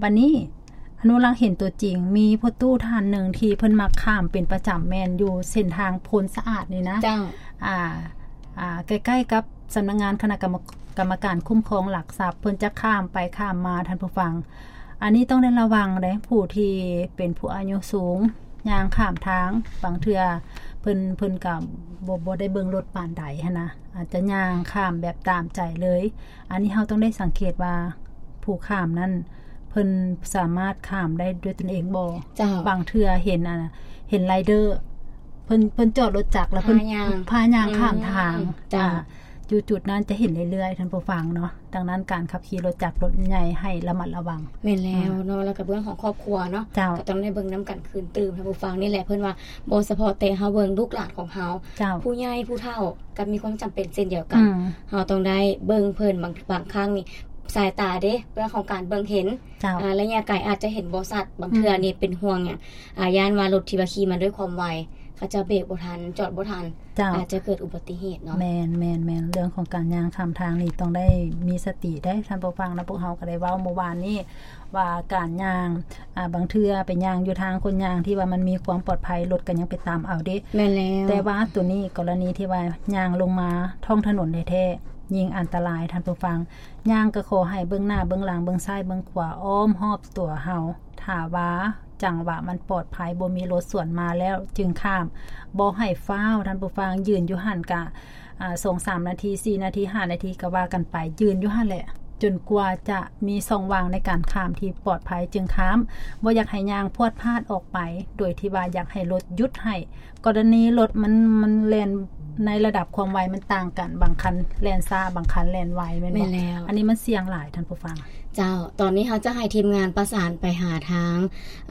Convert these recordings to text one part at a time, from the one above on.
ບັດນີ້ ອະນຸລັກເຫັນຕົວຈິງ ມີພໍ່ຕູ້ທ່ານໜຶ່ງທີ່ເພິ່ນມັກຂ້າມເປັນປະຈຳ ແມ່ນຢູ່ເສັ້ນທາງໂພນສະອາດນີ້ນະ ເຈົ້າ ອ່າ ອ່າ ໃກ້ໆກັບສຳນັກງານຄະນະກຳມະ ກຳມະການຄຸ້ມຄອງຫຼັກຊັບ ເພິ່ນຈະຂ້າມໄປຂ້າມມາ ທ່ານຜູ້ຟັງ. ອັນນີ້ຕ້ອງໄດ້ລະວັງເດ້ ຜູ້ທີ່ເປັນຜູ້ອາຍຸສູງ ຍ່າງຂ້າມທາງ ບາງເທື່ອເພິ່ນ ເພິ່ນກໍບໍ່ ບໍ່ໄດ້ເບິ່ງລົດປານໃດຫັ້ນນະ ອາດຈະຍ່າງຂ້າມແບບຕາມໃຈເລີຍ. ອັນນີ້ເຮົາຕ້ອງໄດ້ສັງເກດວ່າ ຜູ້ຂ້າມນັ້ນ ເພິ່ນສາມາດຂ້າມໄດ້ດ້ວຍຕົນເອງບໍ່? ເຈົ້າ ບາງເທື່ອເຫັນ ອັນ ເຫັນໄລເດີ ເພິ່ນ ເພິ່ນຈອດລົດຈັກ ແລ້ວເພິ່ນພາຍ່າງ ພາຍ່າງຂ້າມທາງ ອືມ ເຈົ້າ ອ່າ ຢູ່ຈຸດນັ້ນຈະເຫັນເລື້ອຍໆ ທ່ານຜູ້ຟັງເນາະ. ດັ່ງນັ້ນ ການຂັບຂີ່ລົດຈັກລົດໃຫຍ່ໃຫ້ລະມັດລະວັງ. ແມ່ນແລ້ວເນາະ ອືມ ແລ້ວກໍເລື່ອງຂອງຄອບຄົວເນາະ ເຈົ້າ ກໍຕ້ອງໄດ້ເບິ່ງນຳກັນຄືນຕື່ມ ທ່ານຜູ້ຟັງ. ນີ້ແຫຼະ ເພິ່ນວ່າບໍ່ສະເພາະແຕ່ເຮົາເບິ່ງລູກຫຼານຂອງເຮົາ ເຈົ້າ ຜູ້ໃຫຍ່ຜູ້ເຖົ້າກໍມີຄວາມຈຳເປັນເຊັ່ນດຽວກັນ ອືມ ເຮົາຕ້ອງໄດ້ເບິ່ງເພິ່ນ. ບາງ ບາງຄັ້ງນີ້ ສາຍຕາເດ້ ເລື່ອງຂອງການເບິ່ງເຫັນ ເຈົ້າ ອ່າ ໄລຍະໄກອາດຈະເຫັນບໍ່ຊັດ ບາງເທື່ອ ອືມ ນີ້ເປັນຫ່ວງຫຍັງ ອ່າ ຢ້ານວ່າລົດທີ່ວ່າຂີ່ມາດ້ວຍຄວາມໄວ ເຂົາເຈົ້າເບຣກບໍ່ທັນ ຈອດບໍ່ທັນ ເຈົ້າ ອາດຈະເກີດອຸບັດຕິເຫດເນາະ. ແມ່ນໆໆ ເລື່ອງຂອງການຍ່າງຂ້າມທາງນີ້ຕ້ອງໄດ້ມີສະຕິເດ້ ທ່ານຜູ້ຟັງນະ. ພວກເຮົາກໍໄດ້ເວົ້າເມື່ອວານນີ້ວ່າ ການຍ່າງ ອ່າ ບາງເທື່ອໄປຍ່າງຢູ່ທາງຄົນຍ່າງທີ່ວ່າມັນມີຄວາມປອດໄພ ລົດກໍຍັງໄປຕາມເອົາເດ້. ແມ່ນແລ້ວ ແຕ່ວ່າໂຕນີ້ ກໍລະນີທີ່ວ່າຍ່າງລົງມາທ້ອງຖະໜົນແທ້ໆ ຍິ່ງອັນຕະລາຍ ທ່ານຜູ້ຟັງ. ຍ່າງກໍຂໍໃຫ້ເບິ່ງໜ້າເບິ່ງຫຼັງ ເບິ່ງຊ້າຍເບິ່ງຂວາ ອ້ອມຮອບຕົວເຮົາ. ຖ້າວ່າຈັງຫວະມັນປອດໄພ ບໍ່ມີລົດສວນມາແລ້ວຈຶ່ງຂ້າມ ບໍ່ໃຫ້ຟ້າວ ທ່ານຜູ້ຟັງ. ຢືນຢູ່ຫັ້ນກະ ອ່າ ສອງສາມນາທີ ສີ່ນາທີ ຫ້ານາທີ ກໍວ່າກັນໄປ ຢືນຢູ່ຫັ້ນແຫຼະ ຈົນກວ່າຈະມີຊ່ອງວ່າງໃນການຂ້າມທີ່ປອດໄພຈຶ່ງຂ້າມ. ບໍ່ຢາກໃຫ້ຍ່າງພວດພາດອອກໄປ ໂດຍທີ່ວ່າຢາກໃຫ້ລົດຢຸດໃຫ້. ກໍລະນີລົດມັນ ມັນແລ່ນໃນລະດັບຄວາມໄວມັນຕ່າງກັນ ບາງຄັນແລ່ນຊ້າ ບາງຄັນແລ່ນໄວ ແມ່ນບໍ່? ແມ່ນແລ້ວ ອັນນີ້ມັນສ່ຽງຫຼາຍ ທ່ານຜູ້ຟັງ. ເຈົ້າ ຕອນນີ້ເຮົາຈະໃຫ້ທີມງານປະສານໄປຫາທາງ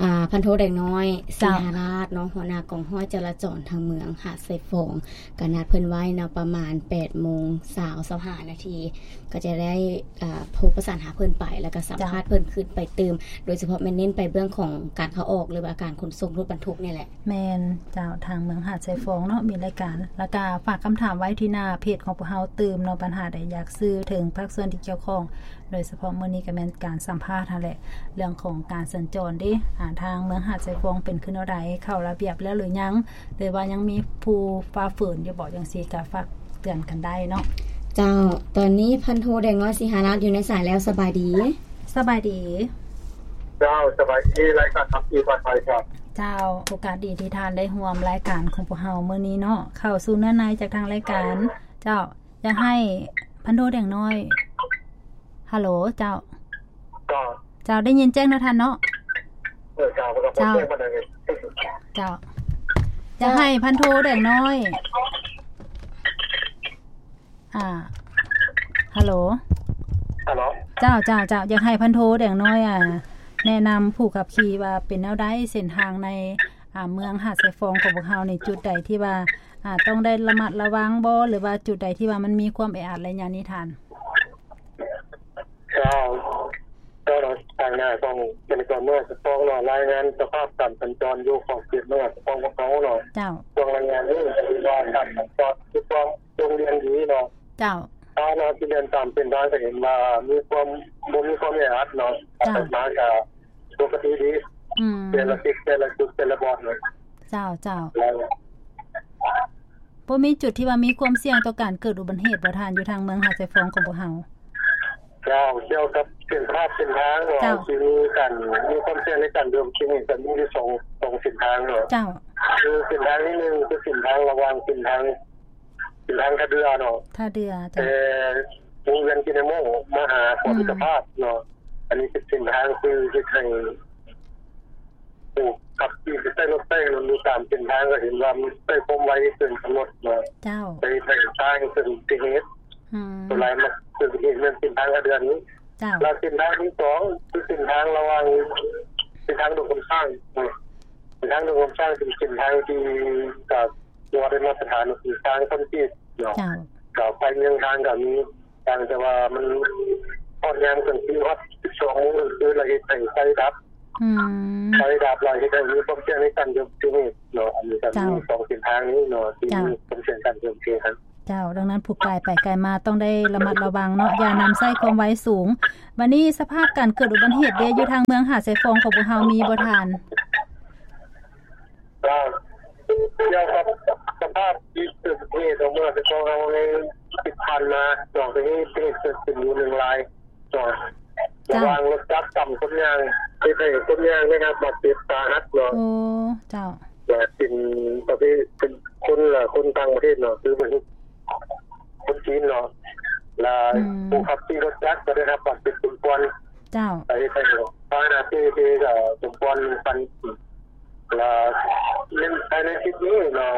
ອ່າ ພັນໂທແດງນ້ອຍ ເຈົ້າ ສີຫາລາດເນາະ ຫົວໜ້າກອງຮ້ອຍຈະລາຈອນທາງເມືອງຫາດຊາຍຟອງ ກໍນັດເພິ່ນໄວ້ເນາະ ປະມານແປດໂມງເຊົ້າ ຊາວຫ້ານາທີ ກໍຈະໄດ້ ອ່າ ໂທປະສານຫາເພິ່ນໄປ ແລ້ວກໍສຳພາດເພິ່ນຄືນໄປຕື່ມ ເຈົ້າ ໂດຍສະເພາະແມ່ນເນັ້ນໄປເລື່ອງຂອງການເຂົ້າອອກ ຫຼືວ່າການຂົນສົ່ງລົດບັນທຸກນີ້ແຫຼະ. ແມ່ນເຈົ້າ ທາງເມືອງຫາດຊາຍຟອງເນາະ ມີລາຍການ ແລ້ວກະຝາກຄຳຖາມໄວ້ທີ່ໜ້າເພຈຂອງພວກເຮົາຕື່ມເນາະ ບັນຫາໃດຢາກສື່ເຖິງພາກສ່ວນທີ່ກ່ຽວຂ້ອງ ໂດຍສະເພາະມື້ນີ້ກໍແມ່ນການສຳພາດຫັ້ນແຫຼະ ເລື່ອງຂອງການສັນຈອນເດ້ ອ່າ ທາງເມືອງຫາດຊາຍຟອງເປັນຄືແນວໃດ ເຂົ້າລະບຽບແລ້ວຫຼືຍັງ ຫຼືວ່າຍັງມີຜູ້ຝ່າຝືນຢູ່ບໍ່ ຈັ່ງຊີ້ກໍຝາກເຕືອນກັນໄດ້ເນາະ. ເຈົ້າ ຕອນນີ້ພັນໂທແດງນ້ອຍ ສີຫາລາດ ຢູ່ໃນສາຍແລ້ວ ສະບາຍດີ. ສະບາຍດີ. ເຈົ້າ ສະບາຍດີ ລາຍການຂັບຂີ່ປອດໄພຄັບ. ເຈົ້າ ໂອກາດດີທີ່ທ່ານໄດ້ຮ່ວມລາຍການຂອງພວກເຮົາມື້ນີ້ເນາະ ເຂົ້າສູ່ເນື້ອໃນຈາກທາງລາຍການ. ເຈົ້າ ຢາກໃຫ້ພັນໂທແດງນ້ອຍ ຮັລໂຫຼ ເຈົ້າ. ເຈົ້າ ເຈົ້າ ໄດ້ຍິນແຈ້ງເນາະທ່ານເນາະ. ເອີ ເຈົ້າ ເຈົ້າ ເຈົ້າ ຢາກໃຫ້ພັນໂທແດງນ້ອຍ ອ່າ ຮັລໂຫຼ ຮັລໂຫຼ ເຈົ້າ ເຈົ້າ ເຈົ້າ ຢາກໃຫ້ພັນໂທແດງນ້ອຍ ອ່າ ແນະນຳຜູ້ຂັບຂີ່ວ່າເປັນແນວໃດ ເສັ້ນທາງໃນ ອ່າ ເມືອງຫາດຊາຍຟອງຂອງພວກເຮົານີ້ ຈຸດໃດທີ່ວ່າ ອ່າ ຕ້ອງໄດ້ລະມັດລະວັງບໍ່ ຫຼືວ່າຈຸດໃດທີ່ວ່າມັນມີຄວາມແອອັດໄລຍະນີ້ທ່ານ? ເຈົ້າ ເຈົ້າ ທາງໜ້າຂອງເຂດເມືອງຫາດຊາຍຟອງເນາະ ລາຍງານສະພາບການສັນຈອນຢູ່ຂອງເຂດເມືອງຫາດຊາຍຟອງຂອງເຮົາເນາະ. ເຈົ້າ ຊ່ວງລາຍງານນີ້ຖືວ່າການສັນຈອນມີຄວາມໂດດດ່ຽນດີເນາະ. ເຈົ້າ ຖ້າເຮົາຊິເດີນຕາມເສັ້ນທາງກໍເຫັນວ່າມີຄວາມ ບໍ່ມີຄວາມແອອັດເນາະ. ເຈົ້າ ມາກໍປົກກະຕິດີ. ອືມ ແຕ່ລະຈຸດ ແຕ່ລະຈຸດ ແຕ່ລະບ່ອນເນາະ. ເຈົ້າ ເຈົ້າ ແລ້ວ ບໍ່ມີຈຸດທີ່ວ່າມີຄວາມສ່ຽງຕໍ່ການເກີດອຸບັດຕິເຫດບໍ່ທ່ານ ຢູ່ທາງເມືອງຫາດຊາຍຟອງຂອງພວກເຮົາ? ເຈົ້າ ກ່ຽວກັບເສັ້ນພາບເສັ້ນທາງເນາະ ເຈົ້າ ທີ່ມີການ ມີຄວາມສ່ຽງໃນການເກີດອຸບັດຕິເຫດ ກໍມີຢູ່ສອງ ສອງເສັ້ນທາງເນາະ. ເຈົ້າ ຄືເສັ້ນທາງທີໜຶ່ງ ຄືເສັ້ນທາງລະຫວ່າງເສັ້ນທາງ ເສັ້ນທາງທ່າເດື່ອເນາະ ທ່າເດື່ອ ເຈົ້າ ແຕ່ວົງວຽນກິນນາໂມ ມາຫາ ອືມ ເກາະມິດຕະພາບເນາະ. ອັນນີ້ເປັນເສັ້ນທາງທີ່ເຮັດໃຫ້ຜູ້ຂັບຂີ່ທີ່ໃຊ້ລົດໃຊ້ຖະໜົນຢູ່ຕາມເສັ້ນທາງ ກໍເຫັນວ່າມັນໃຊ້ຄວາມໄວເກີນກຳນົດເນາະ. ເຈົ້າ ໄປໃຫ້ຊ້າ ເກີດອຸບັດຕິເຫດ. ອືມ ສ່ວນຫຼາຍມັກເກີດອຸບັດຕິເຫດແມ່ນເສັ້ນທາງທ່າເດື່ອນີ້. ເຈົ້າ ແລ້ວເສັ້ນທາງທີສອງ ຄືເສັ້ນທາງລະຫວ່າງ ເສັ້ນທາງດົງຄຳຊ້າງເນາະ. ເສັ້ນທາງດົງຄຳຊ້າງເປັນເສັ້ນທາງທີ່ ກໍ ບໍ່ໄດ້ມາດຕະຖານ ເປັນທາງຄອນກຣີດເນາະ. ເຈົ້າ ກໍໄຟເມືອງທາງກໍມີ ຕ່າງແຕ່ວ່າມັນຮອດຍາມກາງຄືນ ຮອດສິບສອງໂມງກາງຄືນ ແລ້ວເຮັດໃຫ້ໄຟດັບ. ອືມ ໄຟດັບແລ້ວເຮັດໃຫ້ມີຄວາມສ່ຽງໃນການເກີດອຸບັດຕິເຫດເນາະ. ອັນນີ້ກໍມີ ເຈົ້າ ສອງເສັ້ນທາງນີ້ເນາະ ທີ່ ເຈົ້າ ມີຄວາມສ່ຽງການເກີດອຸບັດຕິເຫດ. ເຈົ້າ, ດັ່ງນັ້ນຜູ້ກາຍໄປກາຍມາຕ້ອງໄດ້ລະມັດລະວັງເນາະ, ຢ່ານຳໃຊ້ຄວາມໄວສູງ. ບັດນີ້ສະພາບການເກີດອຸບັດເຫດເດ ຢູ່ທາງເມືອງຫາດຊາຍຟອງຂອງພວກເຮົາມີບໍ່ທ່ານ? ກໍກ່ຽວກັບສະພາບທີ່ເກີດເຫດເນາະ ເມື່ອສະພາບເຮົາໃນທີ່ຜ່ານມາເນາະ ກໍມີເຫດເກີດຂຶ້ນຢູ່ໜຶ່ງລາຍເນາະ ເຈົ້າ ລະຫວ່າງລົດຈັກກັບຄົນຍ່າງ ເຮັດໃຫ້ຄົນຍ່າງໄດ້ຮັບບາດເຈັບສາຫັດເນາະ. ໂອ້ ເຈົ້າ. ແລະເປັນປະເພດ ເປັນຄົນລະ ຄົນຕ່າງປະເທດເນາະ ຄືເປັນຄົນຈີນເນາະ ລະ ອືມ ຜູ້ຂັບຂີ່ລົດຈັກກໍໄດ້ຮັບບາດເຈັບສົມຄວນ ເຈົ້າ ເຮັດໃຫ້ພາຫະນະເປ່ເພກໍສົມຄວນໜຶ່ງຄັນ ລະໃນ ພາຍໃນທິດນີ້ເນາະ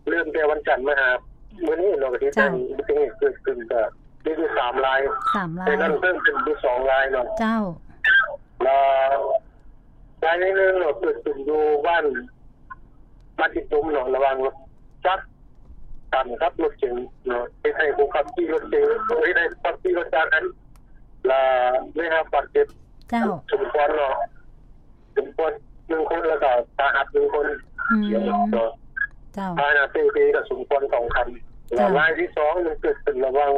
ເລີ່ມແຕ່ວັນຈັນມາຫາມື້ນີ້ເນາະ ກໍເຮັດໃຫ້ ເຈົ້າ ອຸບັດຕິເຫດເກີດຂຶ້ນກໍມີຢູ່ສາມລາຍ ສາມລາຍ ໃນນັ້ນເພີ່ມຂຶ້ນຢູ່ສອງລາຍເນາະ ເຈົ້າ ລະລາຍໜຶ່ງເນາະ ເກີດຂຶ້ນຢູ່ບ້ານ ບ້ານຕິດຕົມເນາະ ລະຫວ່າງລົດຈັກກັນກັບລົດເກັງເນາະ ເຮັດໃຫ້ຜູ້ຂັບຂີ່ລົດເກັງ ເຮັດໃຫ້ຜູ້ຂັບຂີ່ລົດຈັກນັ້ນ ລະໄດ້ຮັບບາດເຈັບ ເຈົ້າ ສົມຄວນເນາະ ສົມຄວນໜຶ່ງຄົນ ແລ້ວກໍສາຫັດໜຶ່ງຄົນ ອືມ ເນາະ ເຈົ້າ ພາຫະນະເປ່ເພກໍສົມຄວນສອງຄັນ ເຈົ້າ ລະລາຍທີສອງມັນເກີດຂຶ້ນລະຫວ່າງ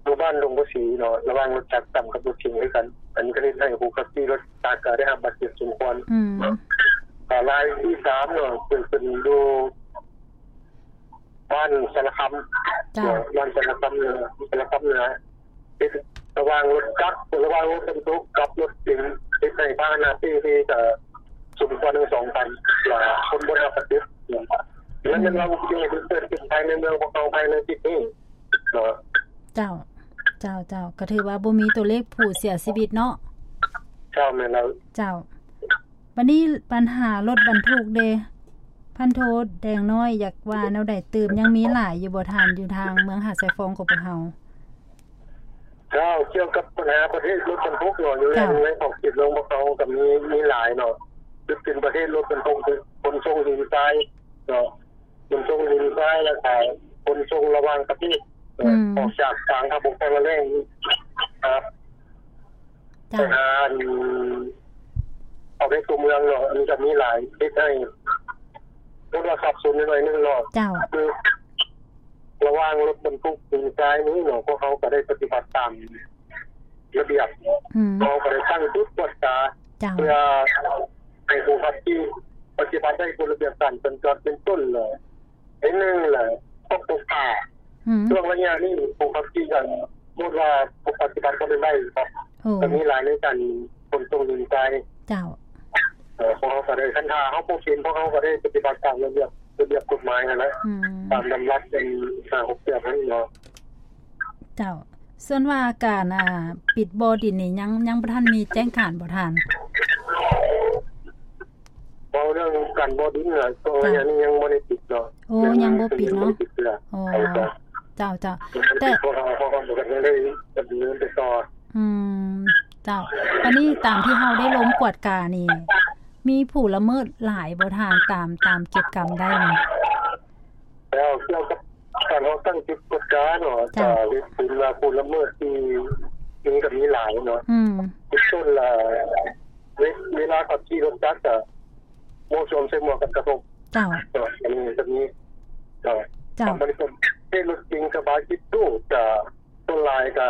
ຢູ່ບ້ານດົງພາສີເນາະ ລະຫວ່າງລົດຈັກກັນກັບລົດເກັງຄືກັນ ອັນນີ້ກໍເຮັດໃຫ້ຜູ້ຂັບຂີ່ລົດຈັກກໍໄດ້ຮັບບາດເຈັບສົມຄວນ ອືມ ລະລາຍທີສາມເນາະ ເກີດຂຶ້ນຢູ່ ບ້ານສາລະຄຳ ເຈົ້າ ເນາະ ບ້ານສາລະຄຳເໜືອ ສາລະຄຳເໜືອ ເຮັດລະຫວ່າງລົດຈັກ ລະຫວ່າງລົດບັນທຸກກັບລົດເກັງ ເຮັດໃຫ້ພາຫະນະເປ່ເພກໍສົມຄວນທັງສອງຄັນ ລະຄົນບໍ່ໄດ້ຮັບບາດເຈັບ ແລະແມ່ນວ່າອຸບັດຕິເຫດທີ່ເກີດຂຶ້ນພາຍໃນເມືອງຂອງເຮົາພາຍໃນທິດນີ້ເນາະ. ເຈົ້າ ເຈົ້າ ເຈົ້າ ກໍຖືວ່າບໍ່ມີຕົວເລກຜູ້ເສຍຊີວິດເນາະ. ເຈົ້າ ແມ່ນແລ້ວ. ເຈົ້າ. ບັດນີ້ບັນຫາລົດບັນທຸກເດ ພັນໂທແດງນ້ອຍ ຢາກວ່າແນວໃດຕື່ມ? ຍັງມີຫຼາຍຢູ່ບໍ່ທ່ານ ຢູ່ທາງເມືອງຫາດຊາຍຟອງຂອງພວກເຮົາ? ເຈົ້າ ກ່ຽວກັບບັນຫາປະເພດລົດບັນທຸກເນາະ ຢູ່ໃນ ເຈົ້າ ໃນຂອບເຂດເມືອງພວກເຮົາກໍມີ ມີຫຼາຍເນາະ ຄືເປັນປະເພດລົດບັນທຸກ ຂົນສົ່ງຫີນຊາຍເນາະ ຂົນສົ່ງຫີນຊາຍ ແລ້ວກໍຂົນສົ່ງລະຫວ່າງປະເທດ ອືມ ອອກຈາກກາງທາງບົກທາງລະແລ້ງ ເຈົ້າ ໄປຫາອັນ ເອົາໃນຕົວເມືອງເນາະ ອັນນີ້ກໍມີຫຼາຍ ເຮັດໃຫ້ ເພາະວ່າສັບສົນໜ້ອຍໜຶ່ງເນາະ ເຈົ້າ ຄືລະຫວ່າງລົດບັນທຸກຫີນຊາຍນີ້ເນາະ ພວກເຮົາກໍໄດ້ປະຕິບັດຕາມລະບຽບເນາະ ອືມ ເຮົາກໍໄດ້ຕັ້ງຈຸດກວດກາ ເຈົ້າ ເພື່ອໃຫ້ຜູ້ຂັບຂີ່ປະຕິບັດໃຫ້ກົດລະບຽບການສັນຈອນເປັນຕົ້ນເນາະ ອັນໜຶ່ງແຫຼະ ຕ້ອງປົກກາ ອືມ ຊ່ວງໄລຍະນີ້ຜູ້ຂັບຂີ່ກໍສົມມຸດວ່າບໍ່ປະຕິບັດກໍເປັນໄດ້ເນາະ ໂອ້ ກໍມີຫຼາຍໃນການຂົນສົ່ງຫີນຊາຍ ເຈົ້າ ເອີ ພວກເຮົາກໍໄດ້ ຄັນຖ້າເຮົາບໍ່ເປັນ ພວກເຮົາກໍໄດ້ປະຕິບັດຕາມລະບຽບ ລະບຽບກົດໝາຍຫັ້ນແຫຼະ ອືມ ຕາມດຳລັດອັນຫ້າຫົກແປດຫັ້ນເນາະ ເຈົ້າ. ສ່ວນວ່າການ ອ່າ ປິດບໍ່ດິນນີ້ ຍັງ ຍັງບໍ່ທັນມີແຈ້ງການບໍ່ທ່ານ? ເວົ້າເລື່ອງການບໍ່ດິນນະ ເຈົ້າ ໄລຍະນີ້ຍັງບໍ່ໄດ້ປິດເນາະ ໂອ້ ຍັງບໍ່ປິດເນາະ ຍັງບໍ່ໄດ້ປິດເທື່ອ ໂອ້ ເຈົ້າ ເຈົ້າ ແຕ່ ພວກເຮົາ ພວກເຮົາກໍຍັງໄດ້ດຳເນີນໄປຕໍ່ ອືມ ເຈົ້າ ບັດນີ້ຕາມທີ່ເຮົາໄດ້ລົງກວດການີ້ ມີຜູ້ລະເມີດຫຼາຍບໍ່ທ່ານ ຕາມ ຕາມເກັບກຳໄດ້ນີ້? ແລ້ວກ່ຽວກັບການເຮົາຕັ້ງຈຸດກວດກາເນາະ ເຈົ້າ ກໍເຫັນວ່າຜູ້ລະເມີດທີ່ມີກໍມີຫຼາຍເນາະ ອືມ ເປັນຕົ້ນລະ ເວ ເວລາຂັບຂີ່ລົດຈັກກໍບໍ່ສວມໃສ່ໝວກກັນກະທົກ ເຈົ້າ ເນາະ ອັນນີ້ກໍມີ ເຈົ້າ ເຈົ້າ ບັດນີ້ກໍເປັນລົດເກັງກະບະຈິບຕູ້ ກໍສ່ວນຫຼາຍກໍ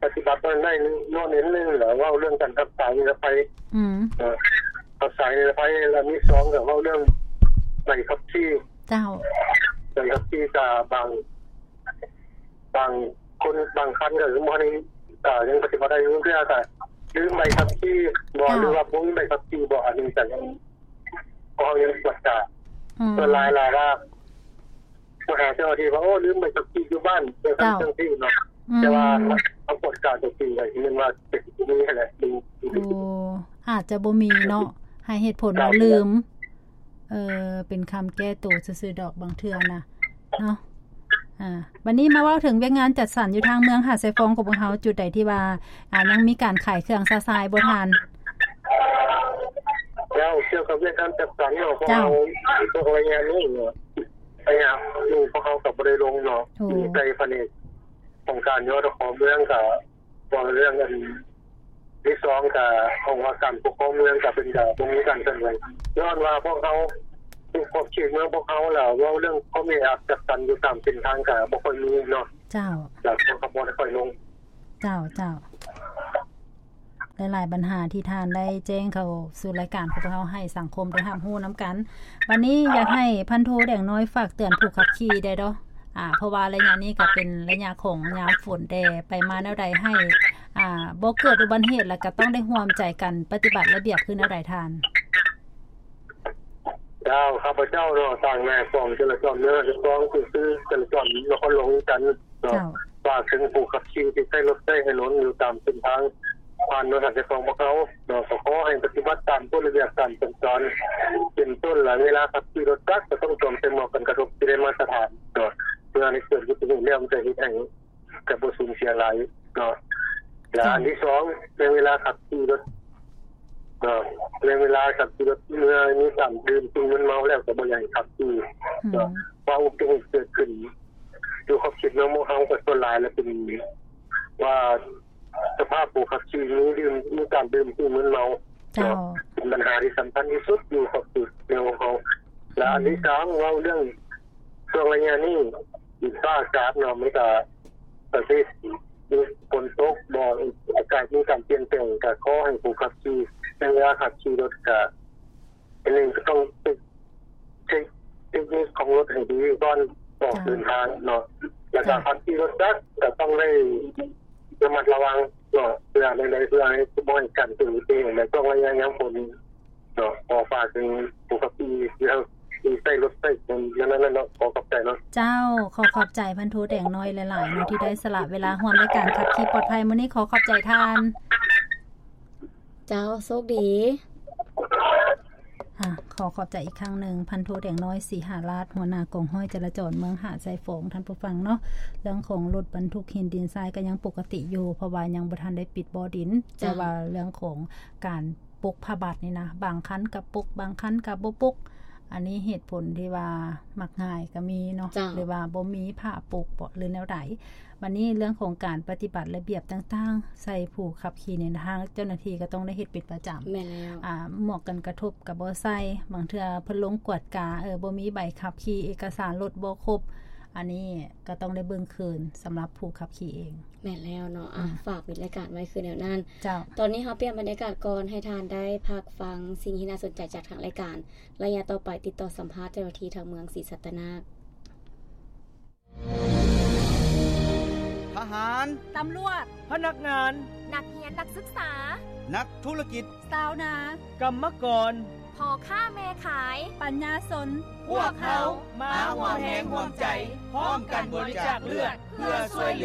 ປະຕິບັດໄດ້ນ້ອຍນິດໜຶ່ງ ແລ້ວເວົ້າເລື່ອງການຮັກສານິລະໄພ ອືມ ເນາະ ຮັກສານິລະໄພ ແລ້ວມີສອງກໍເວົ້າເລື່ອງໃບຂັບຂີ່ ເຈົ້າ ໃບຂັບຂີ່ກໍບາງ ບາງຄົນບາງຄັນກໍຍັງບໍ່ໄດ້ ກໍຍັງປະຕິບັດໄດ້ຢູ່ ເທື່ອກໍລືມໃບຂັບຂີ່ບໍ ເຈົ້າ ຫຼືວ່າບໍ່ມີໃບຂັບຂີ່ບໍ ອັນນີ້ກໍຍັງ ເຮົາຍັງກວດກາ ອືມ ສ່ວນຫຼາຍລະວ່າ ມາຫາເຈົ້າໜ້າທີ່ວ່າ ໂອ້ ລືມໃບຂັບຂີ່ຢູ່ບ້ານ ຈັ່ງຊັ້ນ ເຈົ້າ ຈັ່ງຊີ້ເນາະ ອືມ ແຕ່ວ່າເຮົາກວດກາຕົວຈິງກໍເຫັນວ່າເປັນແບບນີ້ແຫຼະ ໂອ້ ອາດຈະບໍ່ມີເນາະ ໃຫ້ເຫດຜົນວ່າລືມ ເອີ ເປັນຄຳແກ້ໂຕຊື່ໆດອກບາງເທື່ອນະເນາະ. ອາ ບັດນີ້ມາເວົ້າເຖິງວຽກງານຈັດສັນຢູ່ທາງເມືອງຫາດຊາຍຟອງຂອງພວກເຮົາ ຈຸດໃດທີ່ວ່າ ອາ ຍັງມີການຂາຍເຄື່ອງຊະຊາຍບໍ່ທ່ານ? ແລ້ວກ່ຽວກັບວຽກງານຈັດສັນເນາະ ພວກເຮົາ ພວກໄລຍະນີ້ເນາະ ໄລຍະນີ້ພວກເຮົາກໍບໍ່ໄດ້ລົງເນາະ ໂອ້ ມີແຕ່ພະແນກຂອງການ ຍທຂ ເມືອງກໍ ເວົ້າເລື່ອງອັນທີສອງ ກະຂອງວ່າການປົກຄອງເມືອງ ກະເພິ່ນກະບໍ່ມີການເຄື່ອນໄຫວ ຍ້ອນວ່າພວກເຮົາ ຂອບເຂດເມືອງພວກເຮົາ ແລ້ວເວົ້າເລື່ອງຄວາມແອອັດຈັດສັນຢູ່ຕາມເສັ້ນທາງກໍບໍ່ຄ່ອຍມີເນາະ. ເຈົ້າ. ແລ້ວຄົນກໍບໍ່ໄດ້ຄ່ອຍລົງ. ເຈົ້າ ເຈົ້າ. ຫຼາຍໆບັນຫາທີ່ທ່ານໄດ້ແຈ້ງເຂົ້າສູ່ລາຍການຂອງພວກເຮົາ ໃຫ້ສັງຄົມໄດ້ຮັບຮູ້ນຳກັນ. ບັດນີ້ຢາກໃຫ້ພັນໂທແດງນ້ອຍຝາກເຕືອນຜູ້ຂັບຂີ່ໄດ້ດອກ ອາ ເພາະວ່າໄລຍະນີ້ກໍເປັນໄລຍະຂອງຍາມຝົນແດ່ ໄປມາແນວໃດໃຫ້ ອາ ບໍ່ເກີດອຸບັດຕິເຫດ ແລ້ວກໍຕ້ອງໄດ້ຮ່ວມໃຈກັນປະຕິບັດລະບຽບຄືແນວໃດທ່ານ? ເຈົ້າ ຂ້າພະເຈົ້າເນາະ ຕາງນາຍກອງຈະລາຈອນເມືອງ ຈະຕ້ອງຄືຈະລາຈອນນະຄອນຫຼວງວຽງຈັນ ເຈົ້າ ຝາກເຖິງຜູ້ຂັບຂີ່ທີ່ໃຊ້ລົດໃຊ້ຖະໜົນຢູ່ຕາມເສັ້ນທາງຜ່ານເມືອງຫາດຊາຍຟອງພວກເຮົາເນາະ ກໍຂໍໃຫ້ປະຕິບັດຕາມກົດລະບຽບການສັນຈອນ ເປັນຕົ້ນລະ ເວລາຂັບຂີ່ລົດຈັກກໍຕ້ອງສວມໃສ່ໝວກກັນກະທົບທີ່ໄດ້ມາດຕະຖານເນາະ ເພື່ອໃຫ້ເກີດອຸບັດຕິເຫດແລ້ວມັນຈະເຮັດໃຫ້ ກໍບໍ່ສູນເສຍຫຼາຍເນາະ. ແລະ ເຈົ້າ ອັນທີສອງ ໃນເວລາຂັບຂີ່ລົດເນາະ ໃນເວລາຂັບຂີ່ລົດ ເມື່ອມີການດື່ມສິ່ງມຶນເມົາແລ້ວ ກໍບໍ່ຢາກໃຫ້ຂັບຂີ່ເນາະ ອືມ ເພາະອຸບັດຕິເຫດເກີດຂຶ້ນຢູ່ຂອບເຂດເມືອງຂອງເຮົາ ກໍສ່ວນຫຼາຍແລ້ວເປັນວ່າສະພາບຜູ້ຂັບຂີ່ມີດື່ມ ມີການດື່ມສິ່ງມຶນເມົາເນາະ ເຈົ້າ ເປັນບັນຫາທີ່ສຳຄັນທີ່ສຸດຢູ່ຂອບເຂດເມືອງຂອງເຮົາ. ແລະ ອືມ ອັນທີສາມ ເວົ້າເລື່ອງ ຊ່ວງໄລຍະນີ້ ດິນຟ້າອາກາດເນາະ ມັນກະປະເພດມີຝົນຕົກບໍ ອາກາດມີການປ່ຽນແປງ ກະຂໍໃຫ້ຜູ້ຂັບຂີ່ ໃນເວລາຂັບຂີ່ລົດກະ ອັນໜຶ່ງກະຕ້ອງເຊັກ ເຊັກເຕັກນິກຂອງລົດໃຫ້ດີກ່ອນອອກ ເຈົ້າ ເດີນທາງເນາະ ແລ້ວກະ ເຈົ້າ ຂັບຂີ່ລົດຈັກກະຕ້ອງໄດ້ລະມັດລະວັງເນາະ ເພື່ອໃດ ເພື່ອໃຫ້ບໍ່ໃຫ້ການເກີດອຸບັດຕິເຫດ ໃນຊ່ວງໄລຍະຍາມຝົນ ເນາະ ຂໍຝາກເຖິງຜູ້ຂັບຂີ່ທີ່ເຮົາ ທີ່ໃຊ້ລົດໃຊ້ຖະໜົນນັ້ນໆເນາະ ຂໍຂອບໃຈເນາະ. ເຈົ້າ ຂໍຂອບໃຈພັນໂທແດງນ້ອຍຫຼາຍໆເນາະ ທີ່ໄດ້ສະຫຼະເວລາຮ່ວມໃນການຂັບຂີ່ປອດໄພມື້ນີ້ ຂໍຂອບໃຈທ່ານ. ເຈົ້າ ໂຊກດີ. ອາ ຂໍຂອບໃຈອີກຄັ້ງໜຶ່ງ ພັນໂທແດງນ້ອຍ ສີຫາລາດ ຫົວໜ້າກອງຮ້ອຍຈະລາຈອນເມືອງຫາດຊາຍຟອງ ທ່ານຜູ້ຟັງເນາະ. ເລື່ອງຂອງລົດບັນທຸກຫີນດິນຊາຍກໍຍັງປົກກະຕິຢູ່ ເພາະວ່າຍັງບໍ່ທັນໄດ້ປິດບໍ່ດິນ ເຈົ້າ ແຕ່ວ່າເລື່ອງຂອງການ ປົກຜ້າບັດນີ້ນະ ບາງຄັນກໍປົກ ບາງຄັນກໍບໍ່ປົກ ອັນນີ້ເຫດຜົນທີ່ວ່າມັກງ່າຍກໍມີເນາະ ເຈົ້າ ຫຼືວ່າບໍ່ມີຜ້າປົກບໍ ຫຼືແນວໃດ. ບັດນີ້ເລື່ອງຂອງການປະຕິບັດລະບຽບຕ່າງໆ ໃສ່ຜູ້ຂັບຂີ່ນີ້ນະ ທາງເຈົ້າໜ້າທີ່ກໍຕ້ອງໄດ້ເຮັດເປັນປະຈຳ. ແມ່ນແລ້ວ. ອາ ໝວກກັນກະທົບກໍບໍ່ໃສ່ ບາງເທື່ອເພິ່ນລົງກວດກາ ເອີ ບໍ່ມີໃບຂັບຂີ່ ເອກະສານລົດບໍ່ຄົບ ອັນນີ້ກໍຕ້ອງໄດ້ເບິ່ງຄືນສຳລັບຜູ້ຂັບຂີ່ເອງ. ແມ່ນແລ້ວເນາະ ອາ ອືມ ຝາກປິດລາຍການໄວ້ຄືແນວນັ້ນ. ເຈົ້າ. ຕອນນີ້ເຮົາປ່ຽນບັນຍາກາດກ່ອນ ໃຫ້ທ່ານໄດ້ພັກຟັງສິ່ງທີ່ໜ້າສົນໃຈຈາກທາງລາຍການ. ໄລຍະຕໍ່ໄປຕິດຕໍ່ສຳພາດເຈົ້າໜ້າທີ່ທາງເມືອງສີສັດຕະນາກ. ທະຫານ, ຕຳຫຼວດ, ພະນັກງານ, ນັກຮຽນນັກສຶກສາ, ນັກທຸລະກິດ, ຊາວນາ, ກຳມະກອນ, ພໍ່ຄ້າແມ່ຂາຍ, ປັນຍາຊົນ, ພວກເຮົາມາຮ່ວມແຮງຮ່ວມໃຈ ພ້ອມກັນບໍລິຈາກເລືອດ ເພື່ອຊ່ວຍເຫຼືອ